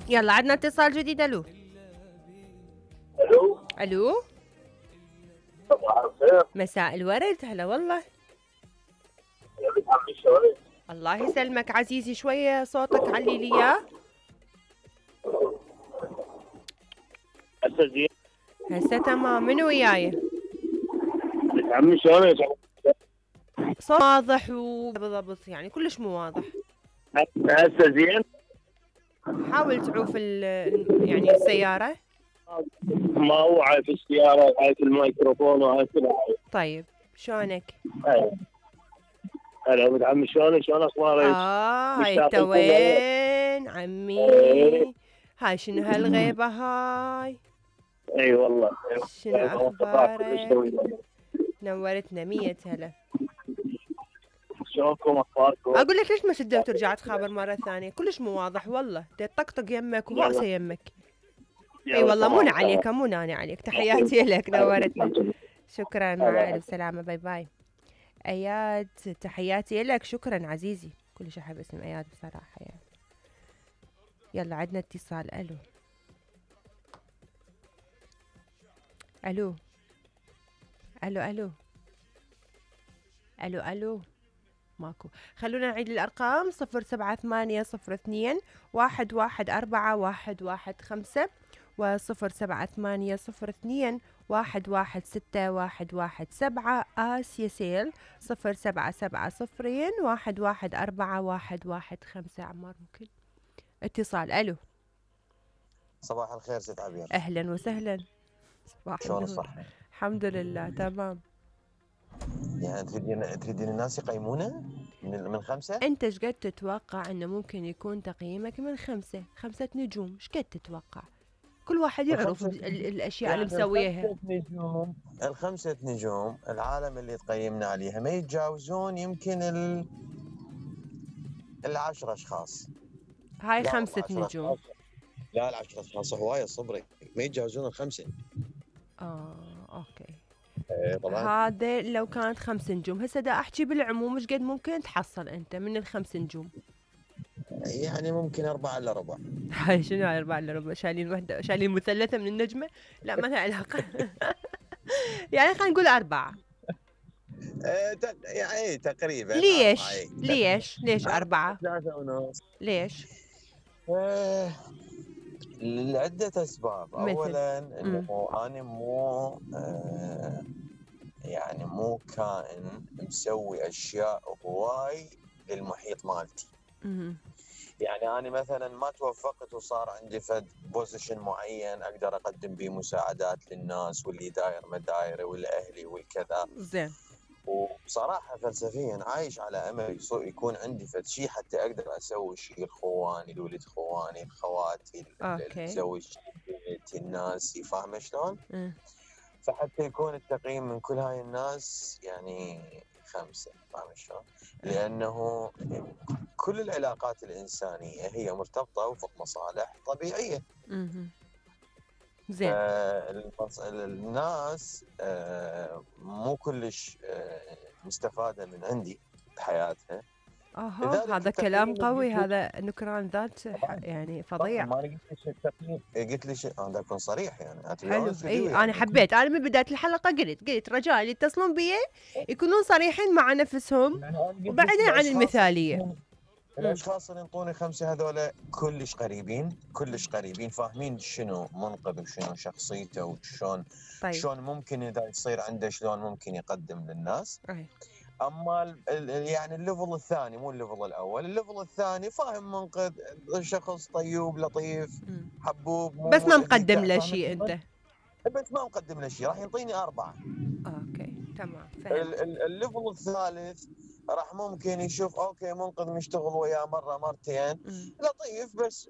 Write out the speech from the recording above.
يلا عندنا اتصال جديد. الو الو الو، صباح الخير. مساء الورد. هلا والله. يا بنت عمي شلونك؟ الله يسلمك عزيزي، شوية صوتك علي لي اياه. هسه زين؟ هسه تمام. منو وياي؟ بنت عمي شلونك؟ صوت واضح وبالضبط، يعني كلش مو واضح. هسه زين؟ حاول تعوف يعني السيارة. ما هو عارف السيارة وعارف الميكروفون وعارف كل حاجة. طيب شلونك؟ هلا بنت عمي شلونك؟ شلون اخبارك؟ هاي انت مشتاق لكم. وين عمي؟ هاي شنو هالغيبة هاي؟ اي والله. شنو اخبارك؟ شلونكم نورتنا 100 هلا. اخباركم؟ اقول لك ليش ما شديت وترجع تخابر مرة ثانية؟ كلش مو واضح والله، تطقطق يمك وهوسة يمك. اي والله مو عليك، مو ناني عليك. تحياتي لك، نورتنا. شكرا، مع الف سلامة، باي باي. اياد تحياتي لك، شكرا عزيزي. كلش احب اسم اياد بصراحة يعني. يلا عندنا اتصال. الو الو الو الو الو الو، ماكو. خلونا نعيد الارقام. 07802 114 115 و 07802 116 آسيا سيل 0770 114 عمار. ممكن اتصال. الو صباح الخير ست عبير. اهلا وسهلا. صباح شلون النور. الصحة؟ الحمد لله تمام. يعني تريدين الناس يقيمونه من 5؟ انت ايش قد تتوقع انه ممكن يكون تقييمك من 5 نجوم؟ ايش قد تتوقع؟ كل واحد يعرف الاشياء اللي مسويها. ال5 نجوم العالم اللي تقيمنا عليها ما يتجاوزون يمكن 10 اشخاص. هاي 5 نجوم. لا 10 اشخاص هوايه صبري، ما يتجاوزون ال5. اوكي. طبعا هذا لو كانت 5 نجوم. هسه دا احكي بالعموم ايش قد ممكن تحصل انت من ال5 نجوم؟ يعني ممكن 4 الا ربع. هاي شنو هاي 4 الا ربع؟ شايلين وحده، شايلين مثلثه من النجمه؟ لا ما لها علاقه. يعني خلينا نقول 4. يعني تقريبا. ليش 4؟ 3 ونص. ليش؟ لعدة أسباب. أولا أنه أنا مو كائن مسوي أشياء هواي للمحيط مالتي. يعني أنا مثلا ما توفقت وصار عندي فد بوزيشن معين أقدر أقدم به مساعدات للناس واللي داير مدايري والأهلي والكذا. زين. وبصراحة فلسفيا عايش على أمل يكون عندي فد شيء حتى أقدر أسوي شيء لإخواني، لولد إخواني، لخواتي، الزوج، الناس. فاهمة شلون؟ فحتى يكون التقييم من كل هاي الناس يعني 5. فاهم شلون؟ لأنه كل العلاقات الإنسانية هي مرتبطة وفق مصالح طبيعية. زين. الناس مو كلش مستفادة من عندي بحياتها. هذا كلام قوي، هذا نكران ذات يعني فظيع. ما قلت لي التقييم، قلت لي انا اكون صريح يعني. حلو. اي انا حبيت. انا من بدايه الحلقه قلت رجاء اللي يتصلون بي يكونون صريحين مع نفسهم وبعدين عن المثاليه. الاشخاص اللي ينطوني 5 هذول كلش قريبين فاهمين شنو منقذ وشنو شخصيته وشلون. طيب. شلون ممكن اذا يصير عنده شلون ممكن يقدم للناس. اما يعني الليفل الثاني مو الليفل الاول. الليفل الثاني فاهم منقذ، شخص طيب لطيف حبوب، بس ما مقدم له شيء انت. بس ما مقدم له شيء راح يعطيني 4. اوكي تمام فهمت. الليفل الثالث راح ممكن يشوف اوكي منقذ مشتغل وياه مره مرتين لطيف بس